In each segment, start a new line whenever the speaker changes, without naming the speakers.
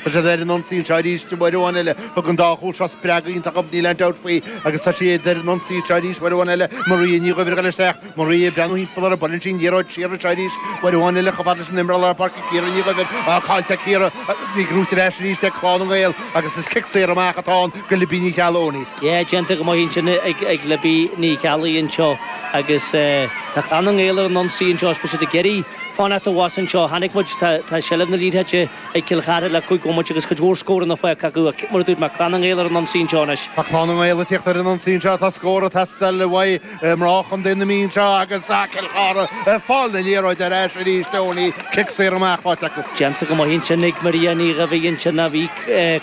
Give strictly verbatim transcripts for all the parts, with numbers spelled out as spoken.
Tá siad ar an ionsaí anseo arís uair amháin eile. Thug an dá chúl seo spreagadh iontach dóibh, níl aon dabht faoi, agus tá siad ar an ionsaí anseo arís uair amháin eile. Maria Ní Dhuibhir ag dul isteach. Maria ag breathnú thimpeall uirthi. Buaileann sí an liathróid siar anseo arís uair amháin eile chomh fada leis an imreoir lár páirce Ciara Ní Dhuibhir. Á, caillte ag Ciara agus í gnóite ar ais arís ag Clann na nGael agus is cic saor amach atá ann go Libby Ní Cheallaigh Owenie.
Yeah, déanta go maith ansin ag ag Libby Ní Cheallaigh anseo agus tá Clann na nGael ar an ionsaí anseo is beidh siad ag iarraidh fanacht abhus anseo. Chonaic muid tá tá seilbh na liathróide ag Cill Chartha le cúig bhomaite agus cuid mhór scóranna faighte acu ach mar a dúirt mé Clann na nGael ar an ionsaí anseo anois.
Tá Clann na nGael ag tíocht ar an ionsaí anseo, tá scór ag teastáil uaidh mná Chontae na Mí anseo agus Cill Chartha ag fáil na liathróide ar ais arís Owenie, cic saor amach faighte acu.
Déanta go maith ansin ag Maria Ní Dhuibhir ansin a bhí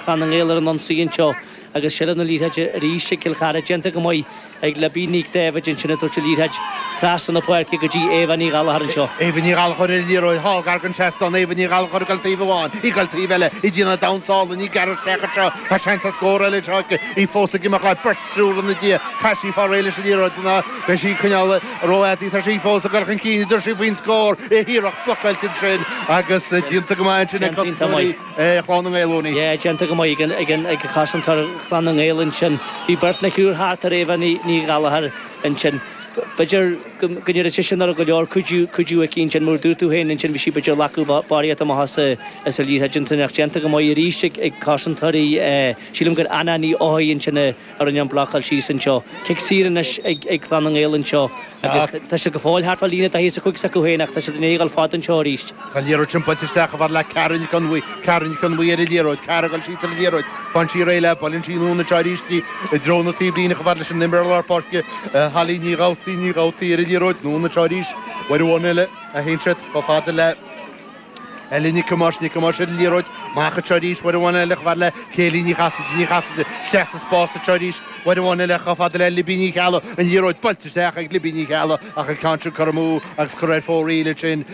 Clann na nGael ar an ionsaí anseo agus seilbh na liathróide arís ag Cill Chartha déanta go maith ag Libby Nic David ansin ag tabhairt an liathróid trasna na páirce go dtí Éabha Ní Ghallchóir anseo.
Éabha Ní Ghallchóir ar an liathróid thall gar don trasnán Éabha Ní Ghallchóir ag dul taobh amháin, í ag dul taobh eile, í ag déanamh damhsa álainn, í ag gearradh isteach anseo, tá seans ar scór eile anseo aici, í fós ag imeacht le beirt triúr ina diaidh, caithfidh sí fáil réidh leis an liathróid ná beidh sí ag coinneáil rófhada, tá sí fós ag dul chun cinn, dúirt sí faoin scór, iarracht blocáilte ansin agus déanta go maith ansin ag cosantóirí Chlann na nGael Owenie.
Yeah, déanta go maith ag an ag cosantóir Chlann na nGael ansin. Bhí beirt nó triúr thart ar Éabha Ní Ní Ghallchóir ansin. B'fhéidir go ndéarfadh sise nach raibh go leor cuidiú cuidiú aici ansin mar dúirt tú féin ansin bhí sí b'fhéidir ag glacadh barraíocht amach as as an liathróid ansin ach déanta go maith arís ag ag cosantóirí sílim gur Anna Ní Eochaidh ansin a rinne an blocáil síos anseo. Cic saor anois ag ag Clann na nGael anseo agus tá siad go fóill thart fá líne daichead is a cúig s'acu féin ach tá siad i ndiaidh dul fada anseo arís.
Tá an liathróid sin buailte isteach chomh fada le Cara Nic Fhionnghaidh, Cara Nic Fhionnghaidh ar an liathróid, Cara ag dul síos ar an liathróid, faigheann sí réidh léi, buaileann sí anonn anseo arís í i dtreo na taobhlíne chomh fada leis an imreoir lár páirce, Holly Ní Dhabhtaí, Ní Dhabhtaí ar an liathróid, anonn anseo arís, uair amháin eile a théann siad chomh fada le Ellie Nic Thomáis, Nic Thomáis ar an liathróid, amach anseo arís, uair amháin eile chomh fada le Kayleigh Ní Chasaide, Ní Chasaide, isteach sa spás anseo arís, uair amháin eile chomh fada le Libby Ní Cheallaigh, an liathróid buailte isteach ag Libby Ní Cheallaigh ach an ceann sin curtha amú agus curtha ar fóraoil ansin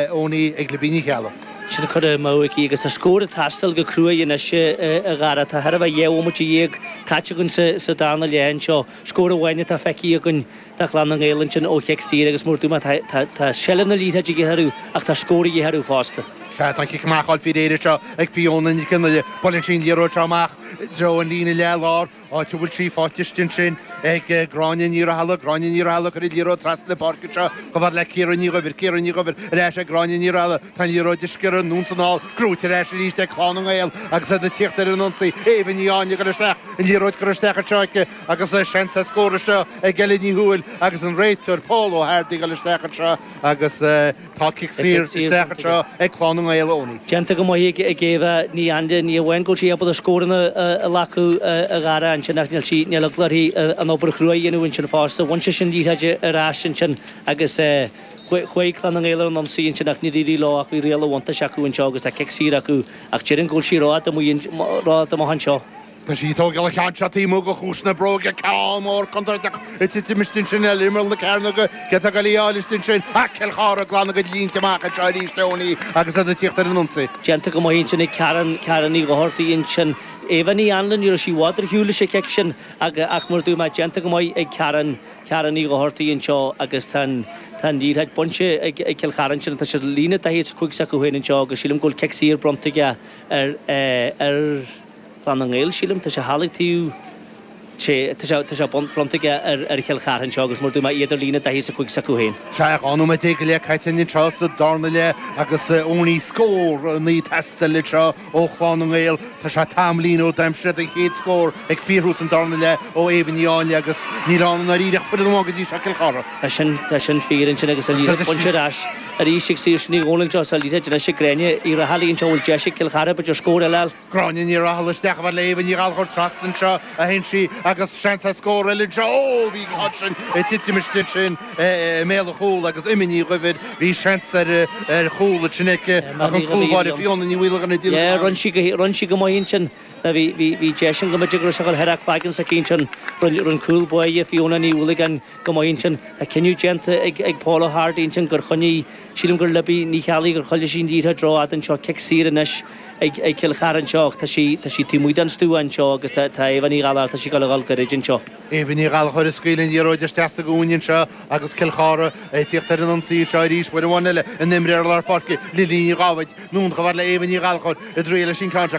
Owenie ag Libby Ní Cheallaigh.
Sin curtha amú aici agus tá scór ag teastáil go cruaidh anois a Dhara. Tá thart fá dhá bhomaite dhéag caite againn sa sa darna leath anseo. Scór amháin atá feicthe againn do Chlann na nGael ansin ó chic saor agus mar dúirt mé tá tá tá seilbh na liathróide ag orthu ach tá scór ag orthu fosta.
Sea, tá an cic amach á fháil faoi réir anseo ag Fiona Nic Fhionnghaile. Buaileann sí an liathróid seo amach i dtreo an líne leath-lár, áit a bhfuil sí faighte istigh ansin ag Gráinne Ní Rathaille. Gráinne Ní Rathaille ag cur an liathróid trasna na páirce anseo chomh fada le Ciara Ní Dhuibhir. Ciara Ní Dhuibhir ar ais ag Gráinne Ní Rathaille. Tá an liathróid ag sciorradh anonn is anall, gnóite ar ais arís ag Clann na nGael agus iad ag tíocht ar an ionsaí. Éabha Ní Áinle ag dul isteach, an liathróid curtha isteach anseo aici agus seans ar scór anseo ag Ella Ní Thuathail agus an réiteoir Paul Ó hArdaigh ag dul isteach anseo agus tá cic saor isteach anseo ag Clann na nGael Owenie.
Déanta go maith ag Éabha Ní Áinle, ní amháin go bhfuil sí ábalta scóranna a ghlacadh a Dhara ansin ach níl sí níl eagla uirthi an obair chrua a dhéanamh ansin fosta. Bhain sé sin liathróid ar ais ansin agus chuaigh Clann na nGael ar an ionsaí ansin ach níor éirigh leo ach bhí riail an bhuntáiste acu anseo agus tá cic saor acu ach déarfainn go bhfuil sí rófhada rófhada amach anseo.
Tá sí ag tógáil an cheann seo taobh amuigh de chuas na bróige, ceann mór contúirteach ag titim istigh ansin ar imeall na cearnóige, cé atá ag dul í a fháil istigh ansin ach Cill Chartha ag glanadh a gcuid línte amach anseo arís Owenie agus iad ag tíocht ar an ionsaí.
Déanta go maith ansin ag Karen, Karen Ní Dhochartaigh ansin. Éabha Ní Anluain, ní raibh sí i bhfad ar shiúl leis an chic sin ach mar a dúirt mé, déanta go maith ag Karen, Karen Ní Dhochartaigh anseo agus tá an tá an liathróid bainte ag ag Cill Chartha ansin, tá siad líne daichead is a cúig s'acu féin anseo agus sílim go bhfuil cic saor bronnta aige ar ar Chlann na nGael, sílim, tá sé thall ag taobh sé tá sé tá sé bronnta aige ar ar Chill Chartha anseo agus mar dúirt mé iad ar líne daichead is a cúig s'acu féin.
Sea, dhá nóiméad déag go leith caite anseo sa darna leath agus Owenie scór ag teastáil anseo ó Chlann na nGael. Tá sé tamaillín ó d'aimsigh siad an chéad scór ag fíorthús an darna leath ó Éabha Ní Áinle agus níl ann i ndáiríre ach foireann amháin go dtí seo, Cill Chartha.
Tá sin tá sin fíor ansin agus an liathróid bainte ar ais arís ag Saoirse Ní Dhomhnaill anseo sa liathróid anois ag Gráinne Uí Raghallaigh anseo bhfuil deis ag Cill Chartha b'fhéidir scór eile a fháil.
Gráinne Ní Raghallaigh isteach a fhad le Éabha Ní Ghallchóir trasna anseo a théann sí agus seans ar scór eile anseo. Ó, bhí an ceann sin ag titim istigh ansin i mbéal an chúil agus Emma Ní Dhuibhir, bhí seans ar ar chúl ansin aici ach an cúl báire Fiona Ní Mhaolagáin ag déanamh
Yeah, rinne sí go rinne sí go maith ansin. Bhí bhí bhí deis an go mb'fhéidir go raibh sé ag dul thar a cloigeann s'aici ansin. Rinne rinne cúl báire Fiona Ní Mhaolagáin go maith ansin. Tá cinneadh déanta ag ag Paul O'Hardy ansin gur choinnigh sílim gur Libby Ní Cheallaigh gur choinnigh sí an liathróid rófhada anseo cic saor anois ag ag Cill Chartha anseo ach tá sí tá sí taobh amuigh den stua anseo agus tá tá Éabha Ní Ghallchóir tá sí ag dul a dhul gairid anseo.
Éabha Ní Ghallchóir ag scaoileadh an liathróid isteach sa gcúinne anseo agus Cill Chartha ag tíocht ar an ionsaí anseo arís uair amháin eile an imreoir lár páirce Lily Ní Dháibhéid anonn chomh fada le Éabha Ní Ghallchóir i dtriail leis an ceann seo.